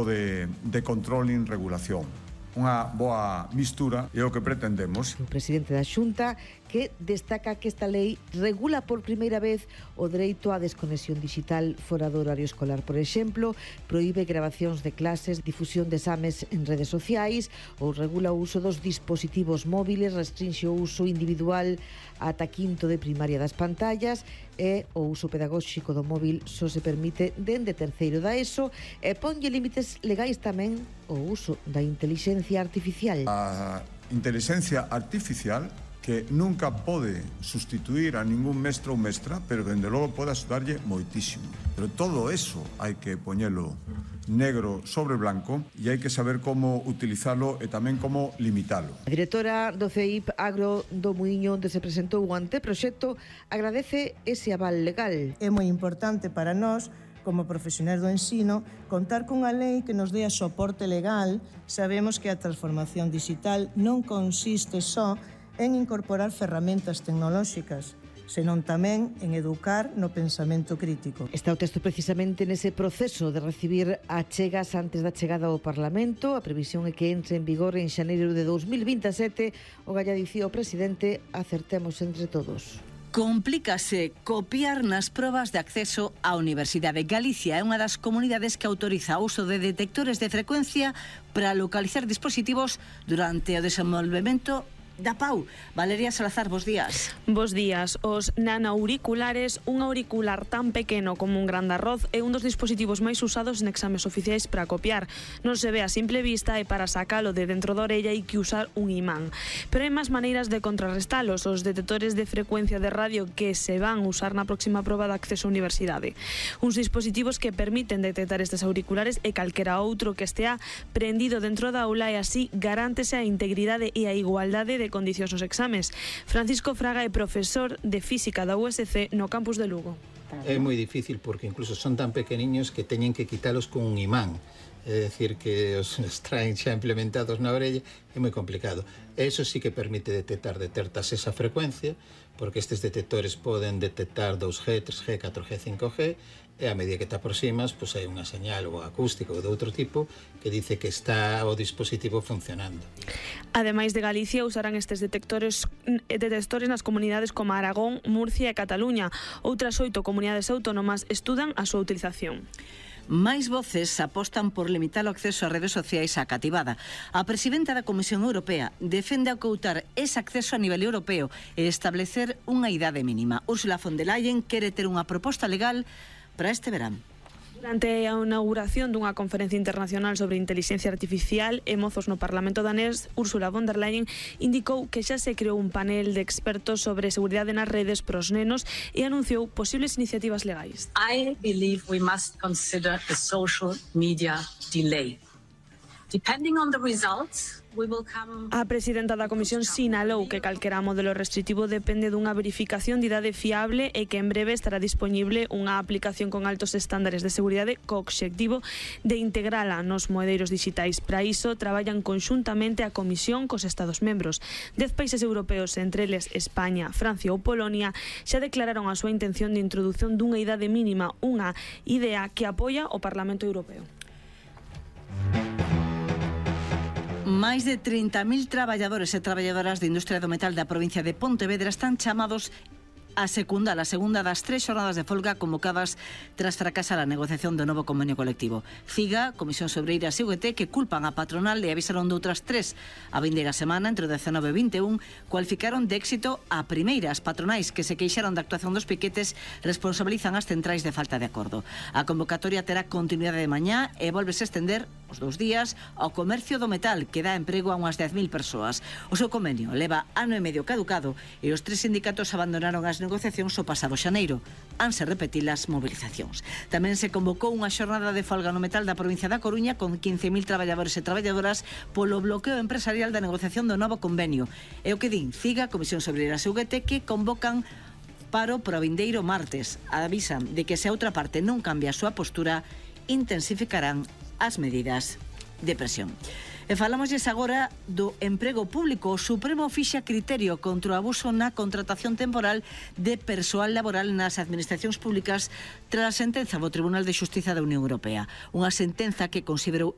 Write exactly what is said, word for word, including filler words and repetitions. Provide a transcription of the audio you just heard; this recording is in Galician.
de, de control e regulación. Unha boa mistura é o que pretendemos. O presidente da Xunta que destaca que esta lei regula por primeira vez o dereito á desconexión digital fora do horario escolar. Por exemplo, proíbe grabacións de clases, difusión de exames en redes sociais ou regula o uso dos dispositivos móviles, restrinxe o uso individual ata quinto de primaria das pantallas e o uso pedagóxico do móvil só se permite dende terceiro da ESO e ponlle límites legais tamén o uso da inteligencia artificial. A inteligencia artificial que nunca pode sustituir a ningún mestre ou mestra, pero dende logo pode axudarlle moitísimo. Pero todo eso hai que poñelo negro sobre blanco e hai que saber como utilizalo e tamén como limitalo. A directora do C E I P Agro do Muiño, onde se presentou o anteproxecto, agradece ese aval legal. É moi importante para nós, como profesionais do ensino, contar cunha lei que nos dé a soporte legal. Sabemos que a transformación digital non consiste só en incorporar ferramentas tecnolóxicas, senón tamén en educar no pensamento crítico. Está o texto precisamente nese proceso de recibir achegas antes da chegada ao Parlamento. A previsión é que entre en vigor en xaneiro de dous mil vinte e sete. O galla dicía o presidente: acertemos entre todos. Complícase copiar nas probas de acceso á Universidade. Galicia é unha das comunidades que autoriza o uso de detectores de frecuencia para localizar dispositivos durante o desenvolvemento da P A U. Valeria Salazar, bos días. Bos días. Os nanoauriculares, un auricular tan pequeno como un gran de arroz, é un dos dispositivos máis usados en exames oficiais para copiar. Non se ve a simple vista e para sacalo de dentro da orella hai que usar un imán. Pero hai máis maneiras de contrarrestalos. Os detectores de frecuencia de radio que se van usar na próxima proba de acceso á universidade. Uns dispositivos que permiten detectar estes auriculares e calquera outro que estea prendido dentro da aula e así garántese a integridade e a igualdade de condicións nos exames. Francisco Fraga é profesor de Física da U S C no campus de Lugo. É moi difícil porque incluso son tan pequeniños que teñen que quitalos con un imán. É dicir, que os traen xa implementados na orella, é moi complicado. Eso sí que permite detectar, detectas esa frecuencia, porque estes detectores poden detectar dos G, tres G, catro G, cinco G, e a medida que te aproximas, pois hai unha señal ou acústica ou de outro tipo que dice que está o dispositivo funcionando. Ademais de Galicia, usarán estes detectores detectores nas comunidades como Aragón, Murcia e Cataluña. Outras oito comunidades autónomas estudan a súa utilización. Máis voces apostan por limitar o acceso ás redes sociais á cativada. A presidenta da Comisión Europea defende acoutar ese acceso a nivel europeo e establecer unha idade mínima. Ursula von der Leyen quere ter unha proposta legal para este verán. Durante a inauguración dunha conferencia internacional sobre inteligencia artificial e mozos no Parlamento danés, Ursula von der Leyen indicou que xa se creou un panel de expertos sobre seguridade nas redes pros nenos e anunciou posibles iniciativas legais. I believe we must consider a social media delay. Depending on the results, we will come... A presidenta da Comisión sinalou que calquera modelo restritivo depende dunha verificación de idade fiable e que en breve estará disponible unha aplicación con altos estándares de seguridade co obxectivo de integrala nos moedeiros digitais. Para iso, traballan conxuntamente a Comisión cos Estados membros. Dez países europeos, entre eles España, Francia ou Polonia, xa declararon a súa intención de introdución dunha idade mínima, unha idea que apoia o Parlamento Europeo. Máis de trinta mil traballadores e traballadoras de industria do metal da provincia de Pontevedra están chamados a secundar a segunda das tres xornadas de folga convocadas tras fracasar a negociación do novo convenio colectivo. CIGA, Comisión Sobreiras e U G T, que culpan a patronal e avisaron de outras tres. A vindeira semana, entre o dezanove e vinte e un, cualificaron de éxito a primeira. As patronais que se queixaron da actuación dos piquetes responsabilizan as centrais de falta de acordo. A convocatoria terá continuidade de mañá e volvese a estender os dous días ao comercio do metal, que dá emprego a unhas dez mil persoas. O seu convenio leva ano e medio caducado e os tres sindicatos abandonaron as negociacións o pasado xaneiro. Hanse repetir as movilizacións. Tamén se convocou unha xornada de folga no metal da provincia da Coruña con quince mil traballadores e traballadoras polo bloqueo empresarial da negociación do novo convenio. É o que din CIGA, Comisión Sobreiras e U G T, que convocan paro para o vindeiro martes. Avisan de que se a outra parte non cambia a súa postura, intensificarán as medidas de presión. E falámosles agora do emprego público. O Supremo fixa criterio contra o abuso na contratación temporal de persoal laboral nas administracións públicas tras a sentenza do Tribunal de Xustiza da Unión Europea. Unha sentenza que considerou